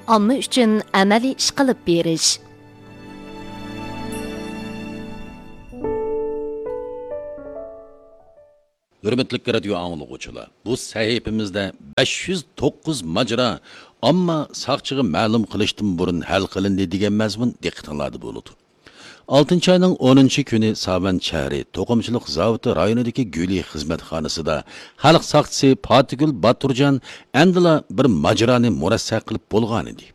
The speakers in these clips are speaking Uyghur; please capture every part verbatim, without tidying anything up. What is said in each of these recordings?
ئامما ئۈچۈن ئەمەلىي ئىش قىلىپ بېرىش. ھۆرمەتلىك رادىيو ئاڭلىغۇچىلار، بۇ سەھىپىمىزدە بەش يۈز توققۇز ماجىرا ئامما ساقچىغا مەلۇم قىلىشتىن بۇرۇن ھەل قىلىندى دېگەن مەزمۇن دىققىتىڭلاردا بولىدۇ. ئالتىنچى ئاينىڭ ئونىنچى كۈنى ساۋەن شەھىرى توقۇمىچىلىق زاۋۇتى رايونىدىكى گۈلى خىزمەتخانىسىدا خەلق ساقچىسى پاتىگۈل باتۇرجان ئەمدىلا بىر ماجىرانى مۇرەسسە قىلىپ بولغانىدى.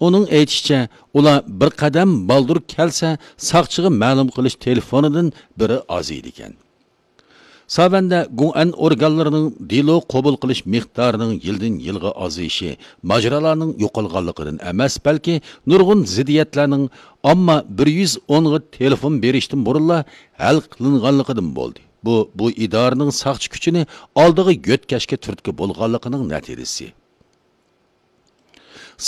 ئۇنىڭ ئېيتىشىچە، ئۇلار بىر قەدەم بالدۇر كەلسە، ساقچىغا مەلۇم قىلىش تېلېفونىدىن بىرى ئازىيىدىكەن. ساۋەندە گۇڭئەن ئورگانلىرىنىڭ دېلو قوبۇل قىلىش مىقدارىنىڭ يىلدىن يىلغا ئازىيىشى ماجىرالارنىڭ يوقالغانلىقىدىن ئەمەس، بەلكى نۇرغۇن زىددىيەتلەرنىڭ ئامما بىر يۈز ئونغا تېلېفون بېرىشتىن بۇرۇنلا ھەل قىلىنغانلىقىدىن بولدى. بۇ، بۇ ئىدارىنىڭ ساقچى كۈچىنى ئالدىغا يۆتكەشكە تۈرتكە بولغانلىقىنىڭ نەتىجىسى.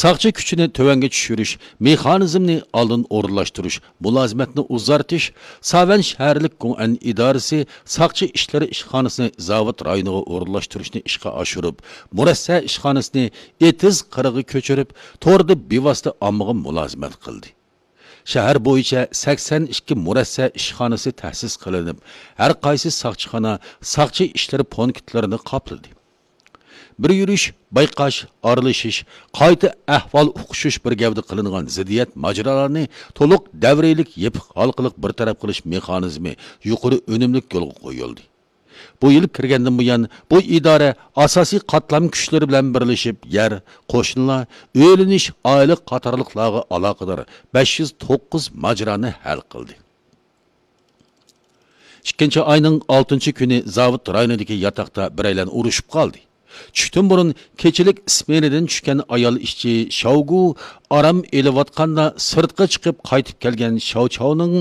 ساقچى كۈچىنى تۆۋەنگە چۈشۈرۈش، مېخانىزمنى ئالدىن ئورۇنلاشتۇرۇش، مۇلازىمەتنى ئۇزارتىش، ساۋەن شەھەرلىك گۇڭئەن ئىدارىسى ساقچى ئىشلىرى ئىشخانىسىنى زاۋۇت رايونىغا ئورۇنلاشتۇرۇشنى ئىشقا ئاشۇرۇپ، مۇرەسسە ئىشخانىسىنى ئېتىز قىرىغا كۆچۈرۈپ، توردا بىۋاسىتە ئاممىغا مۇلازىمەت قىلدى. شەھەر بويىچە سەكسەن ئىككى مۇرەسسە ئىشخانىسى تەسىس قىلىنىپ، ھەر قايسى ساقچىخانا ساقچى ئىشلىرى پونكىتلىرىنى قاپلىدى. بىر يۈرۈش، بايقاش، ئارىلىشىش، قايتا ئەھۋال ئۇقۇشۇش بىر گەۋدە قىلىنغان زىددىيەت ماجىرالارنى تولۇق دەۋرىيلىك يېپىق ھالقىلىق بىر تەرەپ قىلىش مېخانىزمى يۇقىرى ئۈنۈملۈك يولغا قويۇلدى. بۇ يىل كىرگەندىن بۇيان، بۇ ئىدارە ئاساسىي قاتلام كۈچلىرى بىلەن بىرلىشىپ، يەر، قوشنىلار، ئۆيلىنىش، ئائىلە قاتارلىقلارغا ئالاقىدار بەش يۈز توققۇز ماجىرانى ھەل قىلدى. ئىككىنچى ئاينىڭ ئالتىنچى كۈنى زاۋۇت رايونىدىكى ياتاقتا بىرەيلەن ئۇرۇشۇپ قالدى. چۈشتىن بۇرۇن كېچىلىك ئىسمېنىدىن چۈشكەن ئايال ئىشچى شاۋگۇ ئارام ئېلىۋاتقاندا، سىرتقا چىقىپ قايتىپ كەلگەن شاۋچاۋنىڭ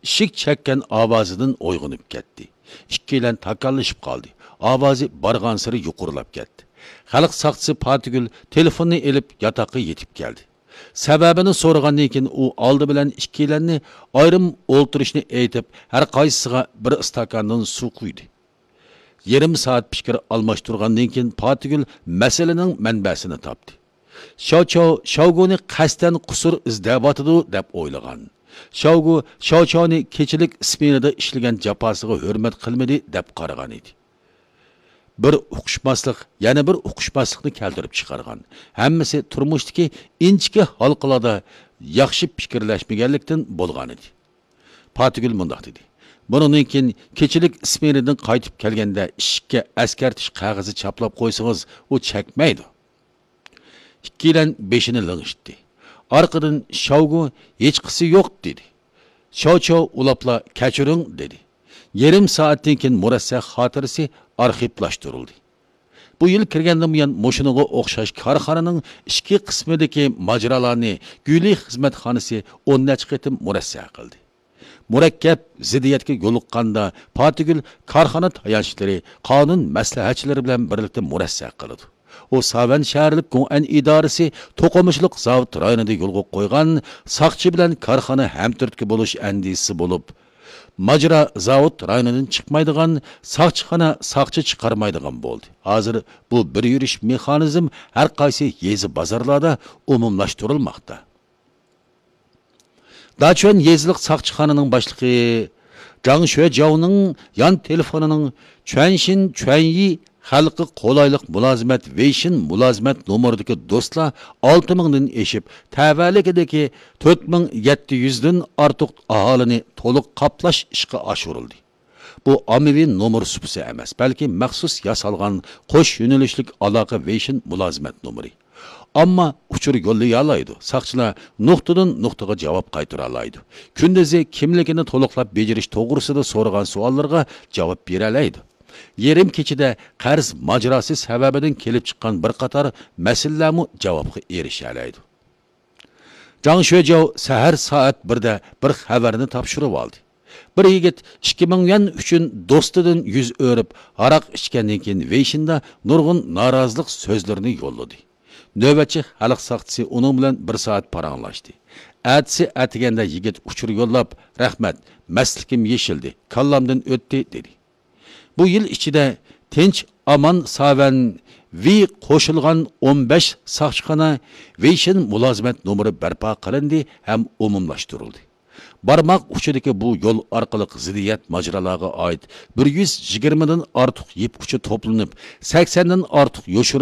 ئىشىك چەككەن ئاۋازىدىن ئويغىنىپ كەتتى. ئىككىيلەن تاكاللىشىپ قالدى. ئاۋازى بارغانسېرى يۇقىرىلاپ كەتتى. خەلق ساقچىسى پاتىگۈل تېلېفوننى ئېلىپ ياتاققا يېتىپ كەلدى. سەۋەبىنى سورىغاندىن كېيىن، ئۇ ئالدى بىلەن ئىككىيلەننى ئايرىم ئولتۇرۇشنى ئېيتىپ، ھەر قايسىسىغا بىر ئىستاكاندىن سۇ قۇيدى. يېرىم سائەت پىكىر ئالماشتۇرغاندىن كېيىن، پاتىگۈل مەسىلىنىڭ مەنبەسىنى تاپتى. شاۋچاۋ شاۋگۇنى قەستەن قۇسۇر ئىزدەۋاتىدۇ، دەپ ئويلىغان. شاۋگۇ شاۋچاۋنى كېچىلىك ئىسمېنىدا ئىشلىگەن جاپاسىغا ھۆرمەت قىلمىدى، دەپ قارىغان ئىدى. بىر ئۇقۇشماسلىق يەنە بىر ئۇقۇشماسلىقنى كەلتۈرۈپ چىقارغان. ھەممىسى تۇرمۇشتىكى ئىنچىكە ھالقىلاردا ياخشى پىكىرلەشمىگەنلىكتىن بولغانىدى. پاتىگۈل مۇنداق دېدى: «بۇنىڭدىن كېيىن كېچىلىك ئىسمېنىدىن قايتىپ كەلگەندە ئىشىككە ئەسكەرتىش قەغىزى چاپلاپ قويسىڭىز، ئۇ چەكمەيدۇ.» ئىككىيلەن بېشىنى لىڭشىتتى. ئارقىدىن شاۋگۇ «ھېچقىسى يوق» دېدى. شاۋچاۋ ئۇلاپلا «كەچۈرۈڭ» دېدى. يېرىم سائەتتىن كېيىن مۇرەسسە خاتىرىسى ئارخىپلاشتۇرۇلدى. بۇ يىل كىرگەندىن بۇيان مۇشۇنىڭغا ئوخشاش كارخانىنىڭ ئىچكى قىسمىدىكى ماجىرالارنى گۈلى خىزمەتخانىسى ئون نەچچە قېتىم مۇرەسسە قىلدى. مۇرەككەپ زىددىيەتكە يولۇققاندا، پاتىگۈل كارخانا تايانچلىرى، قانۇن مەسلىھەتچىلىرى بىلەن بىرلىكتە مۇرەسسە قىلىدۇ. ئۇ ساۋەن شەھەرلىك گۇڭئەن ئىدارىسى توقۇمىچىلىق زاۋۇت رايونىدا يولغا قويغان ساقچى بىلەن كارخانا ھەمتۈرتكە بولۇش ئەندىزىسى بولۇپ، ماجىرا زاۋۇت رايونىدىن چىقمايدىغان، ساقچىخانا ساقچى چىقارمايدىغان بولدى. ھازىر بۇ بىر يۈرۈش مېخانىزم ھەر قايسى يېزا بازارلاردا ئومۇملاشتۇرۇلماقتا. داچۈەن يېزىلىق ساقچىخانىنىڭ باشلىقى جاڭ شۆجاۋنىڭ يان تېلېفونىنىڭ چۈەنشىن چۈەنيى خەلققە قولايلىق مۇلازىمەت ۋېيشىن مۇلازىمەت نومۇرىدىكى دوستلار ئالتە مىڭدىن ئېشىپ، تەۋەلىكىدىكى تۆت مىڭ يەتتە يۈزدىن ئارتۇق ئاھالىنى تولۇق قاپلاش ئىشقا ئاشۇرۇلدى. بۇ ئاممىۋى نومۇر سۇپىسى ئەمەس، بەلكى مەخسۇس ياسالغان قوش يۆنىلىشلىك ئالاقە ۋېيشىن مۇلازىمەت نومۇرى. ئامما ئۇچۇر يوللىيالايدۇ، ساقچىلار نۇقتىدىن نۇقتىغا جاۋاب قايتۇرالايدۇ. كۈندۈزى كىملىكىنى تولۇقلاپ بېجىرىش توغرىسىدا سورىغان سوئاللىرىغا جاۋاب بېرەلەيدۇ. يېرىم كېچىدە قەرز ماجىراسى سەۋەبىدىن كېلىپ چىققان بىر قاتار مەسىلىلەرمۇ جاۋابقا ئېرىشەلەيدۇ. جاڭ شۆجاۋ سەھەر سائەت بىردە بىر خەۋەرنى تاپشۇرۇۋالدى. بىر يىگىت ئىككى مىڭ يۈەن ئۈچۈن دوستىدىن يۈز ئۆرۈپ، ھاراق ئىچكەندىن كېيىن ۋېيشىندا نۇرغۇن نارازىلىق سۆزلىرىنى يوللىدى. نۆۋەتچى خەلق ساقچىسى ئۇنىڭ بىلەن بىر سائەت پاراڭلاشتى. ئەتىسى ئەتىگەندە يىگىت ئۇچۇر يوللاپ، «رەھمەت، مەستلىكىم يېشىلدى، كاللامدىن ئۆتتى» دېدى. بۇ يىل ئىچىدە تىنچ ئامان ساۋەن ۋېي قوشۇلغان ئون بەش ساقچىخانا ۋېيشىن مۇلازىمەت نومۇرى بەرپا قىلىندى ھەم ئومۇملاشتۇرۇلدى. بارماق ئۇچىدىكى بۇ يول ئارقىلىق زىددىيەت ماجىرالارغا ئائىت بىر يۈز يىگىرمىدىن ئارتۇق يىپ ئۇچى توپلىنىپ، سەكسەندىن ئارتۇق يوشۇرۇن